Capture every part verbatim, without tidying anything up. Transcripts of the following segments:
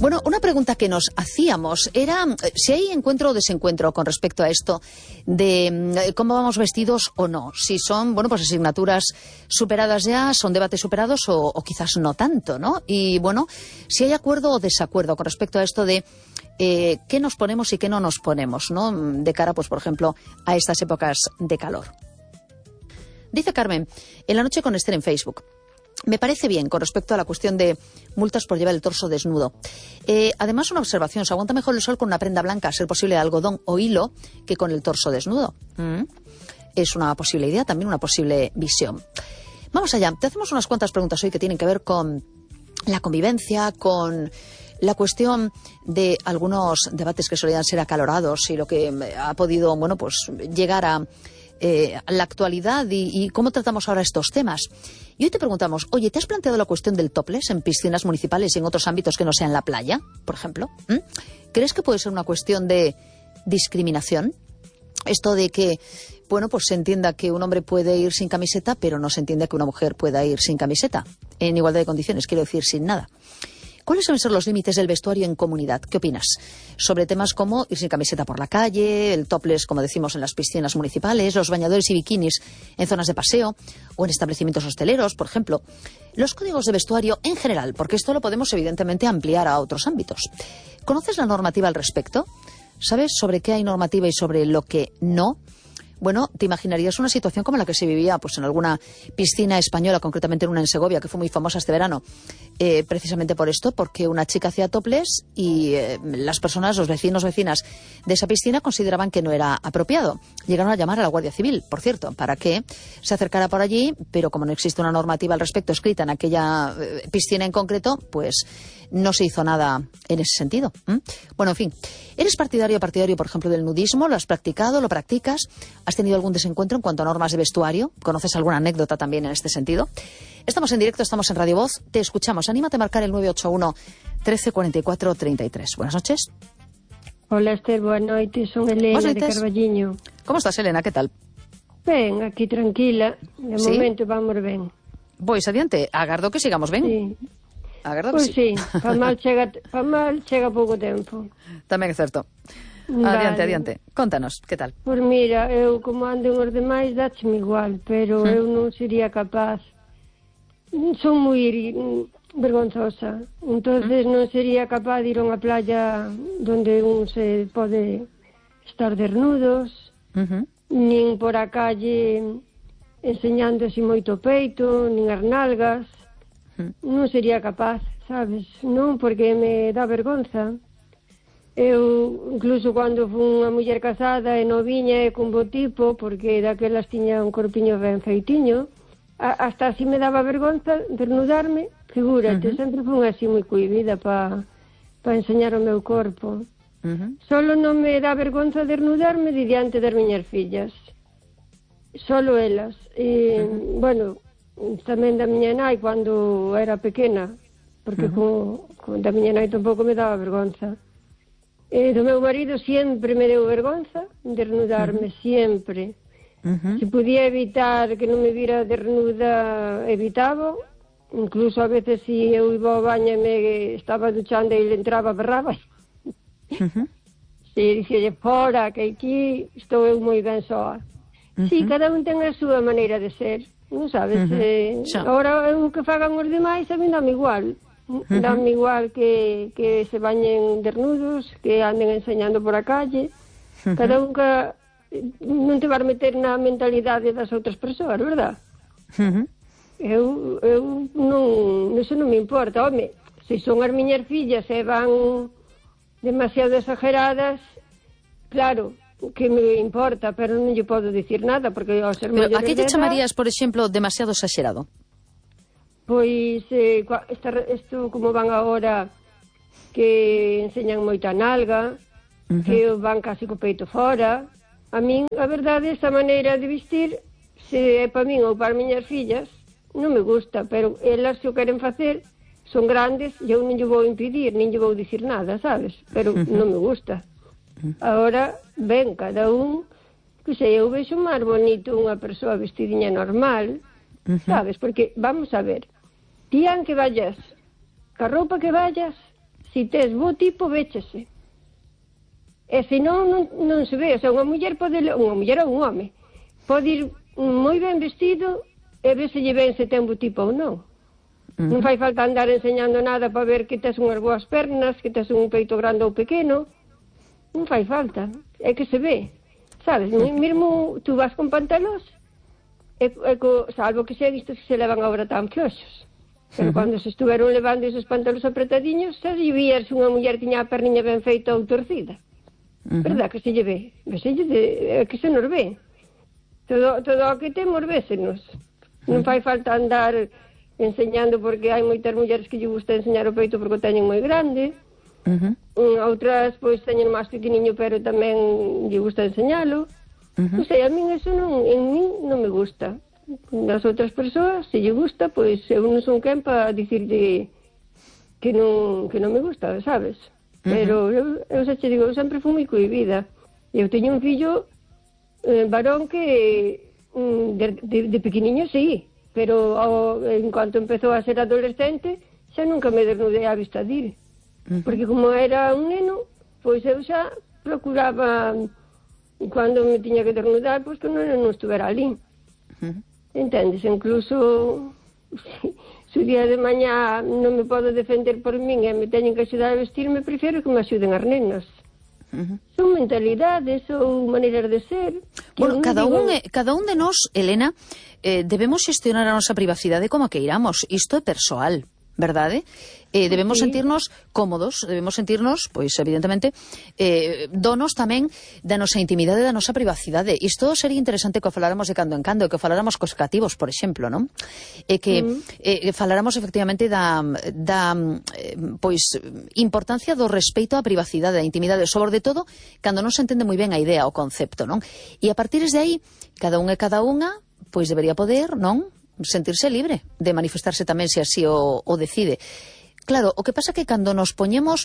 Bueno, una pregunta que nos hacíamos era si hay encuentro o desencuentro con respecto a esto de cómo vamos vestidos o no. Si son, bueno, pues asignaturas superadas ya, son debates superados o, o quizás no tanto, ¿no? Y bueno, si hay acuerdo o desacuerdo con respecto a esto de eh, qué nos ponemos y qué no nos ponemos, ¿no? De cara, pues, por ejemplo, a estas épocas de calor. Dice Carmen, en la noche con Esther en Facebook. Me parece bien con respecto a la cuestión de multas por llevar el torso desnudo. Eh, además, una observación, se aguanta mejor el sol con una prenda blanca, a ser posible de algodón o hilo, que con el torso desnudo. Mm. Es una posible idea, también una posible visión. Vamos allá, te hacemos unas cuantas preguntas hoy que tienen que ver con la convivencia, con la cuestión de algunos debates que solían ser acalorados y lo que ha podido, bueno, pues llegar a Eh, la actualidad y, y cómo tratamos ahora estos temas. Y hoy te preguntamos, oye, ¿te has planteado la cuestión del topless en piscinas municipales y en otros ámbitos que no sean la playa, por ejemplo? ¿Mm? ¿Crees que puede ser una cuestión de discriminación? Esto de que, bueno, pues se entienda que un hombre puede ir sin camiseta, pero no se entiende que una mujer pueda ir sin camiseta, en igualdad de condiciones, quiero decir, sin nada. ¿Cuáles deben ser los límites del vestuario en comunidad? ¿Qué opinas? Sobre temas como ir sin camiseta por la calle, el topless, como decimos, en las piscinas municipales, los bañadores y bikinis en zonas de paseo o en establecimientos hosteleros, por ejemplo. Los códigos de vestuario en general, porque esto lo podemos evidentemente ampliar a otros ámbitos. ¿Conoces la normativa al respecto? ¿Sabes sobre qué hay normativa y sobre lo que no? Bueno, te imaginarías una situación como la que se vivía pues en alguna piscina española, concretamente en una en Segovia, que fue muy famosa este verano, eh, precisamente por esto, porque una chica hacía topless y eh, las personas, los vecinos, vecinas de esa piscina consideraban que no era apropiado. Llegaron a llamar a la Guardia Civil, por cierto, para que se acercara por allí, pero como no existe una normativa al respecto escrita en aquella eh, piscina en concreto, pues no se hizo nada en ese sentido. ¿Mm? Bueno, en fin, ¿eres partidario o partidario, por ejemplo, del nudismo? ¿Lo has practicado? ¿Lo practicas? ¿Has tenido algún desencuentro en cuanto a normas de vestuario? ¿Conoces alguna anécdota también en este sentido? Estamos en directo, estamos en Radio Voz. Te escuchamos. Anímate a marcar el nueve ocho uno, trece cuarenta y cuatro, treinta y tres. Buenas noches. Hola, Esther. Buenas noches. Son Elena de Carballiño. ¿Cómo estás, Elena? ¿Qué tal? Ben, aquí tranquila. De ¿Sí? momento vamos ben. Pois adiante. Agardo que sigamos ben. Sí. Agardo Pois que sí. sí. Pa mal chega, pa mal chega pouco tempo. Tamén é certo. Vale. Adiante, adiante. Contanos, que tal? Pois mira, eu como ando os demais, dácheme igual, pero Hmm. eu non sería capaz. Son moi vergonzosa. Entonces non sería capaz de ir a unha playa onde un se pode estar desnudos, Uh-huh. nin por a calle enseñando así moito peito, nin as nalgas. Hmm. Non sería capaz, sabes? Non, porque me dá vergonza. Eu, incluso cando fui unha muller casada e noviña e con bo tipo, porque daquelas tiña un corpiño ben feitiño, a, hasta así me daba vergonza desnudarme, figúrate, Uh-huh. sempre fui así moi cohibida para pa enseñar o meu corpo. Uh-huh. Solo non me dá vergonza desnudarme de diante das miñas fillas. Solo elas. E, uh-huh. Bueno, tamén da miña nai cando era pequena, porque uh-huh. con, con da miña nai tampouco me daba vergonza. E do meu marido sempre me deu vergonza desnudarme, uh-huh. sempre. Uh-huh. Se podía evitar que non me vira desnuda, evitaba. Incluso a veces si eu iba ao baño e me estaba duchando e ele entraba, berraba. Uh-huh. Si, dixelle, fora, que aquí estou eu moi ben soa. Uh-huh. Si, cada un ten a súa maneira de ser, non sabes? Uh-huh. Eh, Xa. Agora, eu que fagan os demais, a mí dame igual. Uh-huh. Dame igual que, que se bañen desnudos, que anden enseñando por a calle. Uh-huh. Cada un que non te vas meter na mentalidade das outras persoas, verdad? Uh-huh. Eu, eu non, eso non me importa. Home, se son as miñas fillas e van demasiado exageradas, claro, que me importa, pero non lle podo dicir nada, porque ao ser Pero maiores a que lle de edad, chamarías, por exemplo, demasiado exagerado? Pois, eh, esta, isto como van agora, que enseñan moita nalga, Uh-huh. que van casi co peito fora. A min, a verdade, esta maneira de vestir, se é para min ou para as miñas fillas, non me gusta, pero elas se o queren facer, son grandes, e eu non lle vou impedir, nin lle vou dicir nada, sabes? Pero Uh-huh. non me gusta. Agora, ben, cada un, que sei, eu vexo máis bonito unha persoa vestidinha normal, Uh-huh. sabes? Porque, vamos a ver, ti aunque vayas ca roupa que vayas, si tes bo tipo, véchese. E se non, non, non se ve, o sea, unha muller pode, unha muller ou un home, pode ir moi ben vestido e ver se lle ben se ten bo tipo ou non. Uh-huh. Non fai falta andar enseñando nada para ver que tes unhas boas pernas, que tes un peito grande ou pequeno. Non fai falta, é que se ve. Sabes, mesmo tú vas con pantalós, e, e co, salvo que se ha visto que se levan agora tan fioxos. Pero uh-huh. cando se estuveron levando esos pantalós apretadiños, xa lle vías unha muller que tiña a perniña ben feita ou torcida. Uh-huh. Verdad que se lle ve? Se lle de, é que se nos ve. Todo, todo o que temos vésenos. Non fai falta andar enseñando, porque hai moitas mulleres que lle gusta enseñar o peito porque o teñen moi grande. Uh-huh. Outras, pois, teñen máis pequeniño, pero tamén lle gusta enseñalo. Uh-huh. Non sei, a min eso non, en min non me gusta. Nas outras persoas, se lle gusta, pois eu non son quen para dicirlle que non, que non me gusta, sabes? Uh-huh. Pero eu, eu xa che digo, eu sempre fui moi cohibida. Eu teño un fillo eh, varón que de, de, de pequeniño sí, pero ao, en cuanto empezou a ser adolescente xa nunca me desnudei á vista dir. Uh-huh. Porque como era un neno, pois eu xa procuraba, cando me tiña que desnudar, pois que non, non estuvera ali. Uh-huh. Entendes? Incluso se o día de mañá non me podo defender por min e me teñen que axudar a vestirme, prefiro que me axuden as nenas. Uh-huh. Son mentalidades, son maneiras de ser. Bueno, cada digo... un, cada un de nós, Elena, eh, debemos xestionar a nosa privacidade como a queiramos. Isto é persoal, verdade? Eh, debemos sí. sentirnos cómodos, debemos sentirnos, pois, evidentemente, eh, donos tamén da nosa intimidade, da nosa privacidade. Isto sería interesante que o faláramos de cando en cando, que o faláramos cos cativos, por exemplo, non? E que mm. eh, faláramos efectivamente da, da eh, pois, importancia do respeito á privacidade, á intimidade, sobre todo, cando non se entende moi ben a idea, o concepto, non? E a partir de aí, cada un e cada unha, pois debería poder, non? Sentirse libre de manifestarse tamén se así o, o decide. Claro, o que pasa é que cando nos poñemos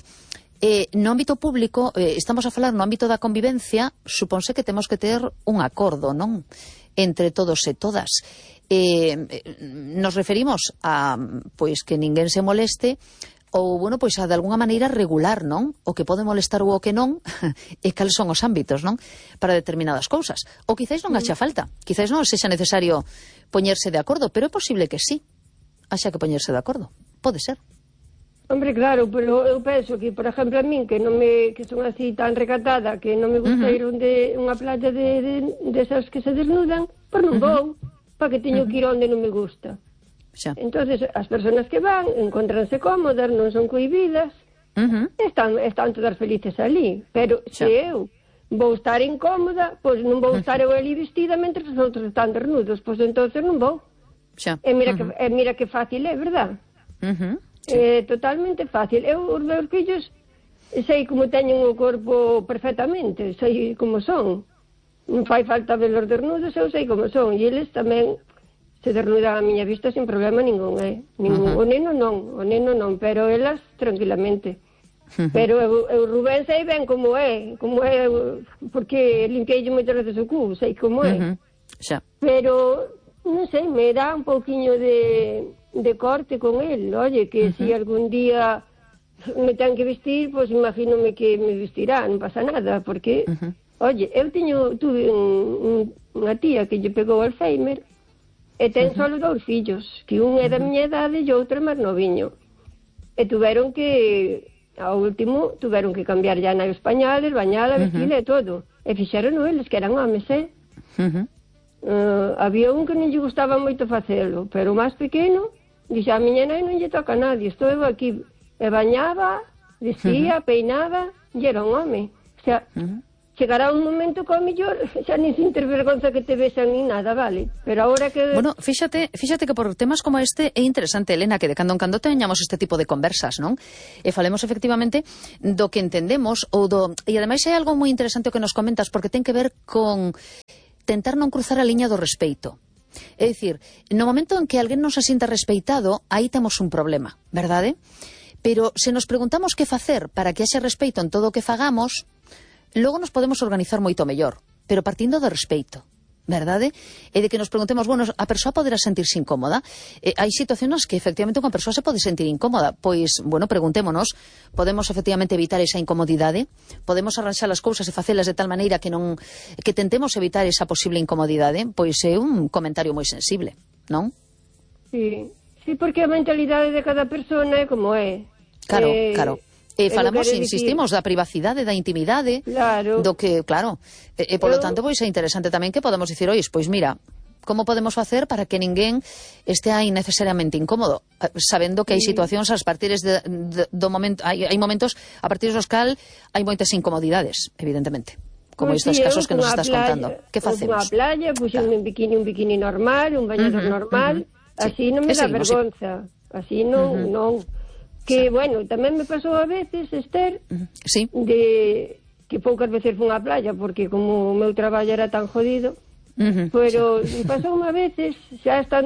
eh, no ámbito público, eh, estamos a falar no ámbito da convivencia, supónse que temos que ter un acordo, non? Entre todos e todas. Eh, nos referimos a, pois, que ninguén se moleste ou, bueno, pois a de alguna maneira regular, non? O que pode molestar ou o que non, e cales son os ámbitos, non? Para determinadas cousas. Ou quizáis non haxa falta, quizáis non sexa necesario poñerse de acordo, pero é posible que sí, haxa que poñerse de acordo. Pode ser. Hombre, claro, pero eu penso que, por exemplo, a min, que non me, que son así tan recatada, que non me gusta uh-huh. ir onde unha playa de, de, de esas que se desnudan, pois non vou, uh-huh. para que teño uh-huh. que ir onde non me gusta. Xa. Entonces, as persoas que van encontranse cómodas, non son cohibidas, uh-huh. están, están todas felices ali. Pero Xa. se eu vou estar incómoda, pois non vou estar uh-huh. eu ali vestida mentre os outros están desnudos, pois entonces non vou. Xa. E mira, uh-huh. que, e mira que fácil é, verdad? Uh-huh. Sí. É totalmente fácil. Eu, os meus fillos, sei como teñen o corpo perfectamente, sei como son. Non fai falta velos desnudos, eu sei como son. E eles tamén se desnudan a miña vista sin problema ningún, eh? Ningún. Uh-huh. O neno non, o neno non, pero elas tranquilamente. Uh-huh. Pero eu, eu Rubén sei ben como é, como é, porque limpiei moitas veces o cu, sei como é. Uh-huh. Xa. Pero, non sei, me dá un pouquiño de... de corte con él, oye, que uh-huh. si algún día me ten que vestir, pues imagínome que me vestirá, non pasa nada, porque, uh-huh. oye, eu teño, tuve un, un, unha tía que lle pegou Alzheimer, e ten uh-huh. solo dous fillos, que un é da miña idade e outro é máis noviño, e tuveron que, ao último, tuveron que cambiar ya na españoles, bañala, vestila uh-huh. e todo, e fixeron eles, que eran homes, eh? Uh-huh. Uh, había un que non lle gustaba moito facelo, pero o máis pequeno dixe, a miña nai non lle toca a nadie, estou eu aquí, e bañaba, vestía, uh-huh. peinaba, e era un home. O sea, uh-huh. chegará un momento que ao mellor xa nin sin ter vergonza que te besan nin nada, vale? Pero agora que... Bueno, fíxate, fíxate que por temas como este é interesante, Elena, que de cando en cando teñamos este tipo de conversas, non? E falemos efectivamente do que entendemos, ou do... E ademais hai algo moi interesante o que nos comentas, porque ten que ver con tentar non cruzar a liña do respeito. É dicir, no momento en que alguén non se sinta respeitado, aí temos un problema, verdade? Pero se nos preguntamos que facer para que haxe respeito en todo o que fagamos, logo nos podemos organizar moito mellor, pero partindo do respeito. verdade? E de que nos preguntemos, bueno, a persoa poderá sentirse incómoda? Eh, hai situacións que efectivamente unha persoa se pode sentir incómoda, pois, bueno, preguntémonos, podemos efectivamente evitar esa incomodidade? Podemos arranxar as cousas e facelas de tal maneira que non que tentemos evitar esa posible incomodidade? Pois é un comentario moi sensible, non? Sí, sí, porque a mentalidade de cada persona é como é. Claro, eh, claro. E falamos, insistimos, da privacidade, da intimidade, claro. do que, claro, e, e polo Eu... tanto, pois é interesante tamén que podemos dicir, ois, pois mira, como podemos facer para que ninguén este aí necesariamente incómodo, sabendo que hai situacións, as partires de, de, do momento, hai, hai momentos a partir dos cal hai moitas incomodidades, evidentemente, como pues estes sí, casos que nos estás playa, contando. Que facemos? Unha playa, puxen claro. un bikini, un bikini normal, un bañador uh -huh, normal, uh -huh. así sí. non me dá seguimos, vergonza, sí. así non, uh -huh. non. Que, sí. bueno, tamén me pasou a veces, Esther, uh -huh. sí. de que poucas veces fun á playa, porque como o meu traballo era tan jodido, uh -huh. pero sí. pasou unha veces, xa estando